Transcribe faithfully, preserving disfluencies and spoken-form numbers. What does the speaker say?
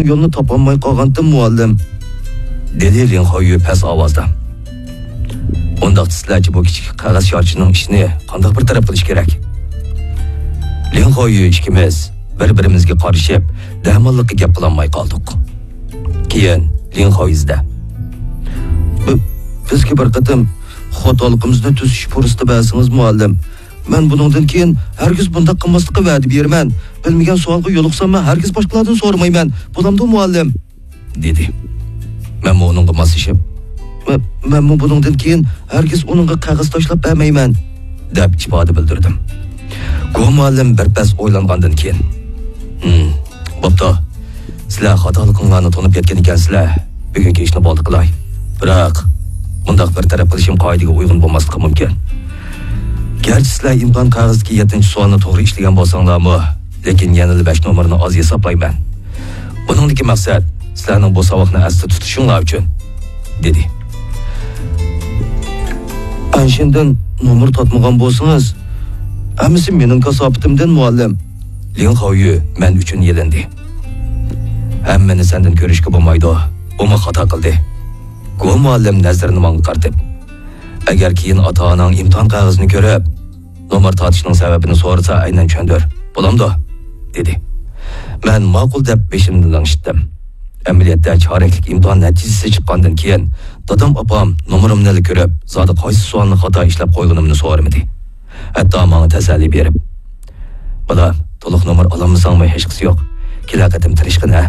يولىنى تاپالماي قالغانتىم، مۇئەللىم، دېدى لىڭ خاۋيۈ پەس ئاۋازدا. ئۇنداقتا سىلەرچە بۇ كىچىك قەغەز شارچىنىڭ ئىشىنى قانداق بىر تەرەپ قىلىش كېرەك؟ لىڭ خاۋيۈ ئىككىمىز بىر-بىرىمىزگە قارىشىپ، دەماللىققا گەپ قىلالماي قالدۇق. كېيىن لىڭ خاۋيۈ دە، بى-، بىزگە بىر قېتىم خاتالىقىمىزنى تۈزىتىش پۇرسىتى بەرسىڭىز، مۇئەللىم. مەن بۇنىڭدىن كېيىن ھەرگىز بۇنداق قىلماسلىققا ۋەدە بېرىمەن. بىلمىگەن سوئالغا يولۇقساممۇ ھەرگىز باشقىلاردىن سورىمايمەن. بولامدۇ، مۇئەللىم؟ دېدى. مەنمۇ ئۇنىڭغا ماسلىشىپ، مە-، مەنمۇ بۇنىڭدىن كېيىن ھەرگىز ئۇنىڭغا قەغەز تاشلاپ بەرمەيمەن، دەپ ئىپادە بىلدۈردۈم. گو مۇئەللىم بىر پەس ئويلانغاندىن كېيىن، ھىم، بوپتۇ. سىلەر خاتالىقىڭلارنى تونۇپ يەتكەن ئىكەنسىلەر. بۈگۈنكى ئىشنى بولدى قىلاي. بىراق، مۇنداق بىر تەرەپ قىلىشىم قائىدىگە ئۇيغۇن بولماسلىقى مۇمكىن. گەرچە سىلەر ئىمتىھان قەغىزىدىكى يەتتىنچى سوئالنى توغرا ئىشلىگەن بولساڭلارمۇ، لېكىن يەنىلا بەش نومۇرنى ئاز ھېسابلايمەن. بۇنىڭدىكى مەقسەت سىلەرنىڭ بۇ ساۋاقنى ئەستە تۇتۇشۇڭلار ئۈچۈن، دېدى. ئەنشىندىن نومۇر تارتمىغان بولسىڭىز، ھەممىسى مېنىڭ كاساپىتىمدىن، مۇئەللىم. لىڭ خاۋيۈ مەن ئۈچۈن يېلىندى. ھەممىنى سەندىن كۆرۈشكە بولمايدۇ، بۇمۇ خاتا قىلدى. گو مۇئەللىم نەزىرىنى ماڭا قارىتىپ، ئەگەر كېيىن ئاتا-ئاناڭ ئىمتىھان قەغىزىنى كۆرۈپ، نومۇر تارتىشنىڭ سەۋەبىنى سورىسا، ئەينەن چۈشەندۈر. بولامدۇ؟ دېدى. مەن ماقۇل دەپ بېشىمنى لىڭشىتتىم. ئەمەلىيەتتە، چارەكلىك ئىمتىھان نەتىجىسى چىققاندىن كېيىن، دادام ئاپام نومۇرۇمنىلا كۆرۈپ، زادى قايسى سوئالنى خاتا ئىشلەپ قويغىنىمنى سورىمىدى. ھەتتا ماڭا تەسەللى بېرىپ، «بالام، تولۇق نومۇر ئالالمىساڭمۇ ھېچقىسى يوق. كېلەر قېتىم تىرىشقىن، ھە؟»